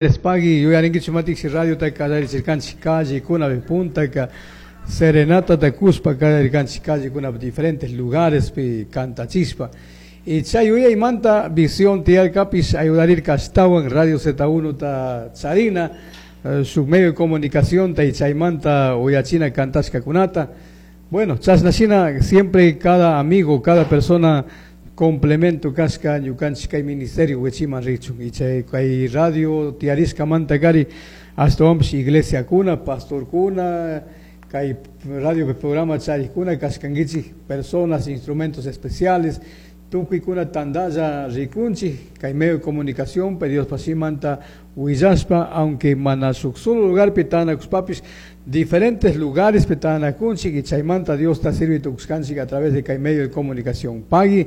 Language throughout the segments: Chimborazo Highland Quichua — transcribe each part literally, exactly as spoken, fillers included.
Pagui yuyarinkichik matiksi radiota kallarichirkanchik callekunapi puntaka serenatata kushpa kallarirkanchik callekunapi diferentes lugarespi kantachispa y chay yuyaymanta visión tiyarkapish ayudarirka ashtawan Radio Z uno ta charina, eh, su medio de comunicación ta y chaymanta uyachina kantashkakunata. Bueno, chashnashina siempre cada amigo, cada persona complemento kashka ñukanchik kay ministerio wichiman richun y chay kay radio tiyarishkamanta kari ashtawanpish iglesiakuna, pastorkuna, kay radio programa charikuna kashkankichik personas, instrumentos especiales, tukuykuna tandalla rikunchik kay medio de comunicación pe Dios pasimanta willashpa, aunque mana shuk solo lugarpi tanakushpapish diferentes lugares pe tanakunchik y chaymanta Dios ta sirvi tukushkanchik a través de kay medio de comunicación. Pagui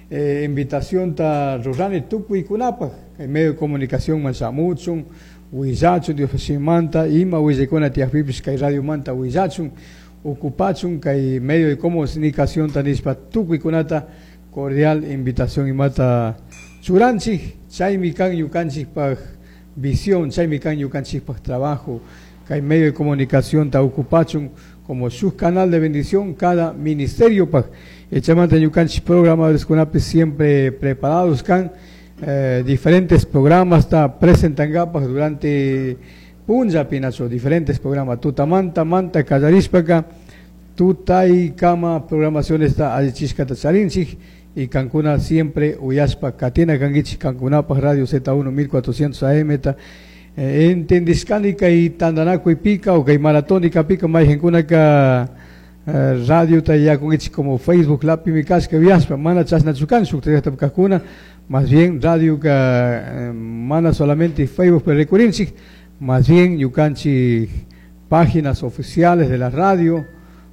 eh, invitación ta rurani tukuykunapaj kay medio de comunicación man shamuchun willachun Dios pasimanta ima willaykuna tiyakpipish kay radio manta willachun ocupachun kay medio de comunicación ta nishpa tukuykunata cordial invitación imata churanchik chaymi kan ñukanchikpaj visión, chaymi kan ñukanchikpaj trabajo kay medio de comunicación ta ocupachun como su canal de bendición cada ministerio paj chaymanta ñukanchik programadores kunapi siempre preparados kan, eh, diferentes programas ta presentangapak durante punlla pinacho diferentes programas tutamanta manta kallarishpaka tutay kama programaciones ta allichishkata charinchik y kankuna siempre uyashpa katina kankichik kankunapaj Radio Z uno mil cuatrocientos A M ta, eh, entendishkani kay tandanakuy pika o kay maratónica pika mayqinkunaka, eh, radio ta yakunkichik como Facebook lapimi kashka uyashpa mana chashnachu kan shuk llaqtapi kajkuna más bien radio ka, eh, mana solamente Facebook pero rikurinchik más bien ñukanchik páginas oficiales de la radio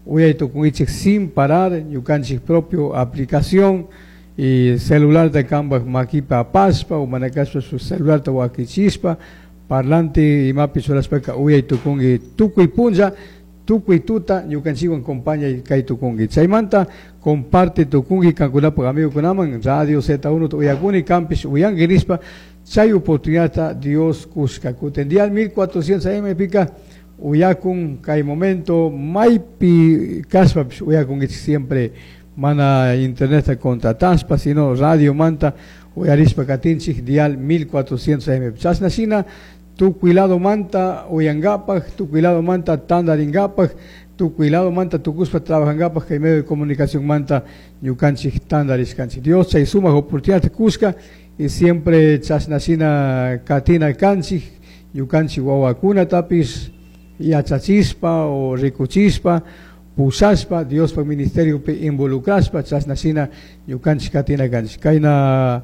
uyay tukunkichik sin parar ñukanchik propio aplicación y celular de kambaj makipa apashpa o manakashpa su celular ta wakichispa parlante imapi churashpaka uyay tukunki tukuy punlla tukuy tuta ñukanchikwan compaña kay tukunki chaymanta comparte tukunki kankunapaj amigukunaman Radio Z uno uyakuni kampish uyanki nishpa chay oportunidad Dios kushka kutin dial mil cuatrocientos A M pika uyakun kay momento maypi kashpapish uyakunkichik siempre mana internet contrataspa sino radio manta uyarishpa katinchik dial mil cuatrocientos A M chashna shina tukuy lado manta uyankapaj tukuy lado manta tandarinkapaj tukuy lado manta tukuspa trabajankapaj kay medio de comunicación manta ñukanchik tandarishkanchik Dios chay sumak oportunidad kushka y siempre chashna shina katina kanchik ñukanchik wawakunatapis yachachispa o rikuchispa pushashpa Diospaj ministeriopi involucrashpa chashna shina ñukanchik katina kanchik kayna,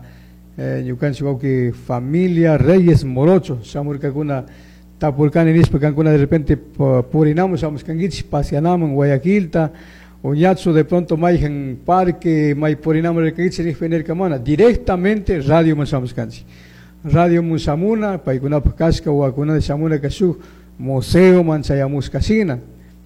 eh, ñukanchik wawki familia Reyes Morocho shamurkakuna tapurkani nishpa kankuna de repente purinamun shamushkankichik paseanamun Guayaquilta o ñachu de pronto mayjan parque may purinamun rirkankichik nishpa nirka mana directamente radio man shamushkanchik radio mun shamuna paykunapaj kashka wawakunata shamuna ka shuk museo man chayamushkashina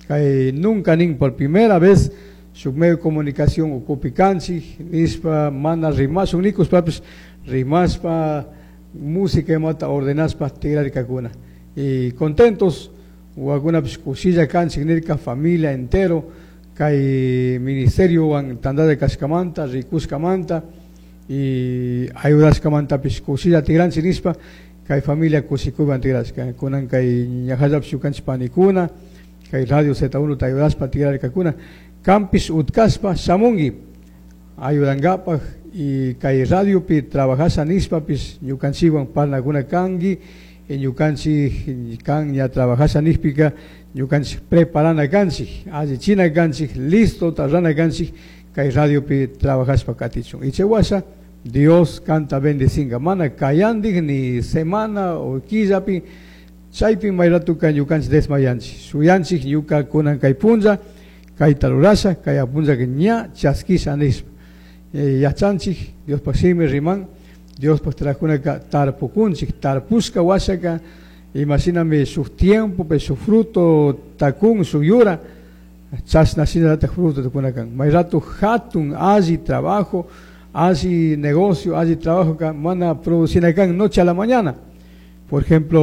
kay nunca nin por primera vez shuk medio de comunicación ukupi kanchik nishpa mana rimashun nikushpapis rimashpa música imata ordenashpa tigrarkakuna y contentos wawakunapish kushilla kanchik nirka familia entero kay ministeriowan tandalla kashkamanta rikushkamanta y ayudashkamantapish kushilla tigranchik nishpa kay familia kushikuywan tigrashka kunan kay ñajallapish ñukanchik panikuna kay Radio Z uno ta ayudashpa tigrarkakuna kampish utkashpa shamunki ayudankapaj y kay radiopi trabajasha nishpapish ñukanchikwan parlakuna kanki y ñukanchik kan ña trabajasha nishpika ñukanchik preparana kanchik allichina kanchik listo tarrana kanchik kay radiopi trabajashpa katichun y chay washa Dios kanta bendicinga mana kayandik ni semana o killapi chaypi mayratuka ñukanchik desmayanchik shuyanchik ñuka kunan kay punlla kayta rurasha kay apunlla ña chaskisha nishpa. Eh, yachanchik Diospaj shimi riman Diospaj trajunaka tarpukunchik tarpushka washaka imashinami shuk tiempo pe shuk fruto takun shuk yura chashna shinallatak fruto tukunakan may rato hatun alli trabajo alli negocio alli trabajo ka mana producinakan noche a la mañana Por ejemplo,